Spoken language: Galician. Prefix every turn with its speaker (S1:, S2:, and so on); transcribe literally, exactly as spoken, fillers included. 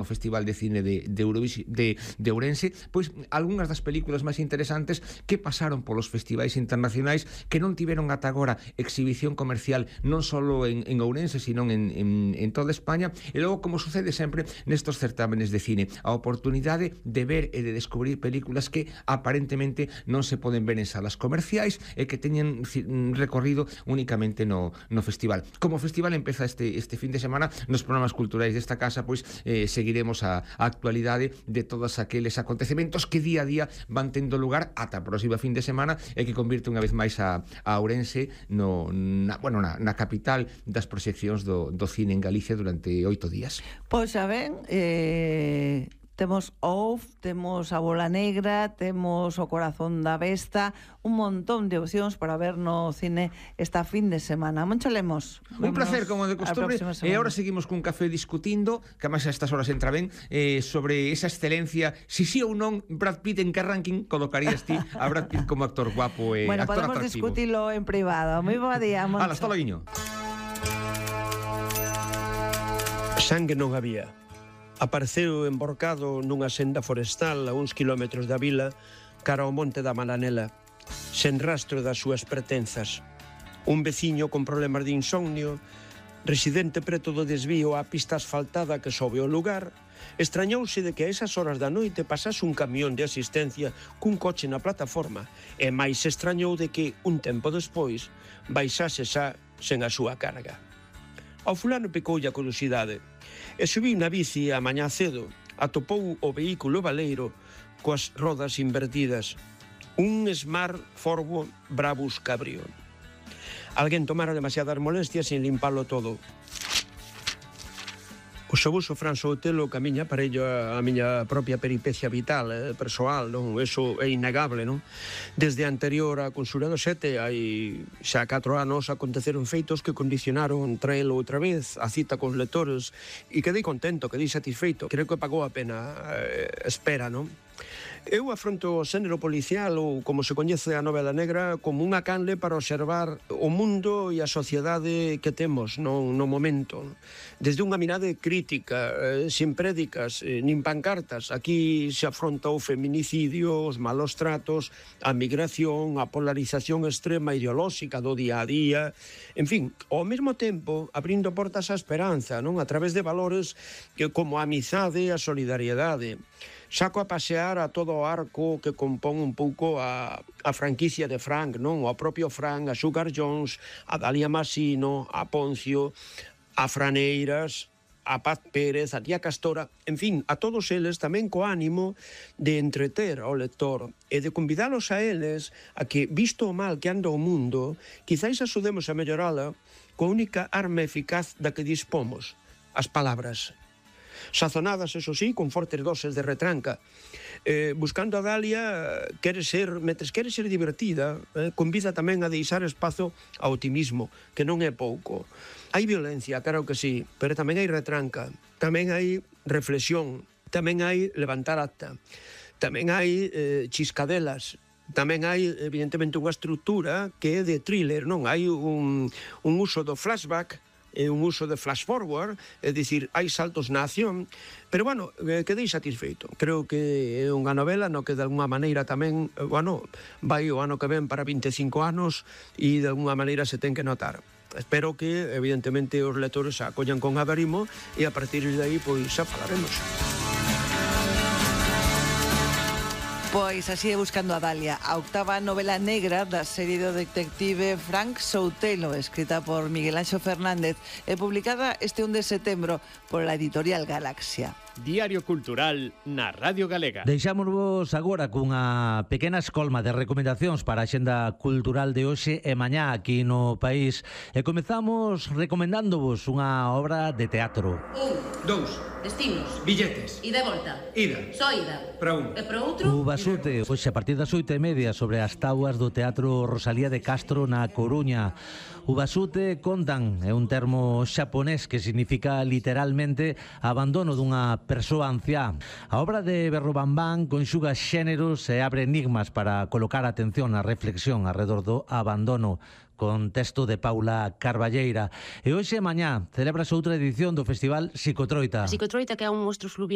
S1: o Festival de Cine de, de, Eurovisi, de, de Ourense, pois algunhas das películas máis interesantes que pasaron polos festivais internacionais que non tiveron ata agora exhibición comercial non só en, en Ourense, sino en, en, en toda España. E logo, como sucede sempre nestos certámenes de cine, a oportunidade de ver e de descubrir películas que aparentemente non se poden ver en salas comerciais e que teñen recorrido únicamente no, no festival. Como o festival empeza este, este fin de semana, nos programas culturais desta casa, pois eh, seguiremos a, a actualidade de todos aqueles acontecementos que día a día van tendo lugar ata a próxima fin de semana e que convirte unha vez máis a, a Ourense no, na, bueno, na, na capital das proxeccións do, do cine en Galicia durante oito días.
S2: Pois xa ben, eh... temos O F, temos A Bola Negra, temos O Corazón da Besta, un montón de opcións para ver no cine esta fin de semana. Moncho Lemos.
S1: Un placer, como de costumbre. E agora seguimos cun café discutindo, que además a estas horas entra ben, eh, sobre esa excelencia, si sí ou non Brad Pitt, en que ranking colocarías ti a Brad Pitt como actor guapo e
S2: bueno,
S1: actor
S2: podemos
S1: atractivo?
S2: discutilo en privado. Moi bo día, Moncho.
S1: Hala, hasta loguiño.
S3: Sangue non había. Apareceu emborcado nunha senda forestal a uns kilómetros da vila cara ao monte da Malanela, sen rastro das súas pertenzas. Un veciño con problemas de insomnio, residente preto do desvío á pista asfaltada que sobe ao lugar, extrañouse de que a esas horas da noite pasase un camión de asistencia cun coche na plataforma e máis se extrañou de que, un tempo despois, baixase xa sen a súa carga. Ao fulano picoulle a curiosidade e subiu na bici a mañá cedo, atopou o vehículo baleiro coas rodas invertidas, un Smart Forwo Brabus Cabrio. Alguén tomara demasiadas molestias en limpalo todo. O xabuso Fran Soutelo camiña parello a miña propia peripecia vital, eh, persoal, non? Eso é innegable, non? Desde a anterior a Consura do Sete, hai xa catro anos, aconteceron feitos que condicionaron traelo outra vez a cita cos lectores e quedei contento, quedei satisfeito. Creo que pagou a pena eh, espera, non? Eu afronto o xénero policial, ou como se coñece a novela negra, como unha canle para observar o mundo e a sociedade que temos no, no momento. Desde unha mirade crítica, eh, sin prédicas, eh, nin pancartas. Aquí se afronta o feminicidio, os malos tratos, a migración, a polarización extrema ideolóxica do día a día. En fin, ao mesmo tempo, abrindo portas á esperanza, non? A través de valores que, como a amizade e a solidariedade. Saco a pasear a todo o arco que compón un pouco a, a franquicia de Frank, non? O propio Frank, a Sugar Jones, a Dalia Masino, a Poncio, a Franeiras, a Paz Pérez, a Tía Castora, en fin, a todos eles tamén co ánimo de entreter ao lector e de convidalos a eles a que, visto o mal que anda o mundo, quizáis axudemos a mellorala coa única arma eficaz da que dispomos, as palabras. Sazonadas, eso sí, con fortes doses de retranca. Eh, buscando a Dalia, quere ser, metes quere ser divertida, eh, convida tamén a deixar espazo ao optimismo, que non é pouco. Hai violencia, claro que sí, pero tamén hai retranca, tamén hai reflexión, tamén hai levantar acta, tamén hai eh, chiscadelas, tamén hai, evidentemente, unha estrutura que é de thriller, non? Hai un, un uso do flashback, é un uso de flash forward, é dicir, hai saltos na acción, pero, bueno, eh, quedei satisfeito. Creo que é unha novela no que, de alguna maneira, tamén, eh, bueno, vai o ano que ven para vinte e cinco anos e, de alguna maneira, se ten que notar. Espero que, evidentemente, os lectores a acollan con agarimo e, a partir de aí, pois, xa falaremos.
S2: Pois así é Buscando a Dalia, a octava novela negra da serie do detective Frank Soutelo, escrita por Miguel Anxo Fernández e publicada este un de setembro pola editorial Galaxia.
S4: Diario Cultural na Radio Galega.
S5: Deixámonos agora cunha pequena escolma de recomendacións para a xenda cultural de hoxe e mañá aquí no país. E comezamos recomendándovos unha obra de teatro.
S6: Un.
S1: Dous.
S6: Destinos.
S1: Billetes.
S6: Ida e volta.
S1: Ida.
S6: Só ida.
S1: Para un.
S6: E para outro?
S5: O Basute, hoxe a partir das oito e media sobre as tauas do Teatro Rosalía de Castro na Coruña. O Basute, contan, é un termo xaponés que significa literalmente abandono dunha persoa anciá. A obra de Berrobambán conxuga xéneros e abre enigmas para colocar atención na reflexión alrededor do abandono, con texto de Paula Carballeira. E hoxe e mañá celébrase outra edición do Festival Psicotroita.
S6: A Psicotroita, que é un monstro fluvial